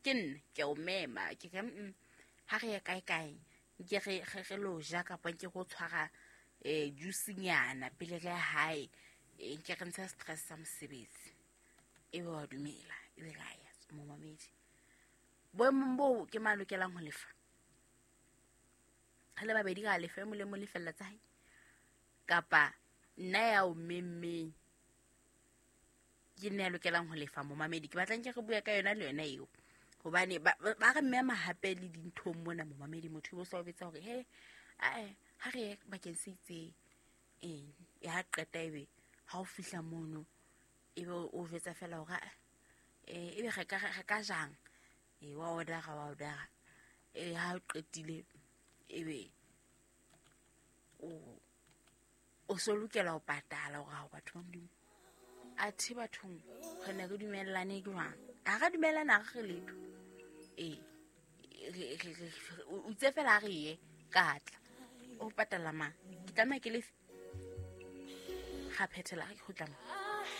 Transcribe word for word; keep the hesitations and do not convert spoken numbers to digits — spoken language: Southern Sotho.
Ke nna ke o mema ke re mm ha re ye kae kae nke re re re lo ja kapa nke go tshwara eh juice-nyana pele re ya hae, eh, nke re ntsha stress sa mosebetsi. Ebe wa dumela, ebe ra ya momamedi. Boemong boo ke mang a lokelang ho lefa? Re le babedi ra lefa, e mong le mong lefella tsa hae, kapa nna ya o memmeng ke nna ya lokelang ho lefa momamedi? Ke batla nke re bue ka yona le yona eo, hobane ba ba ba re mema hape le dinthong mona momamedi. Motho o sa o betsa hore he ae ha re ye bakeng se itseng, ee ya qeta ebe ha o fihla mono ebe o jwetsa fela hore ah, eh ebe re ka re ka jang, ee wa order-a wa order-a, ee ha o qetile ebe o o so lokela ho patala hore ha batho ba Modimo. Athe bathong re ne re dumellane jwang? Ha ra dumellana, ha re re letho. Ee re- re- re- o itse fela ha re ye ka tla o patala mang, ke tlameha ke lefe. Ga phethela ge ke kgutla mo.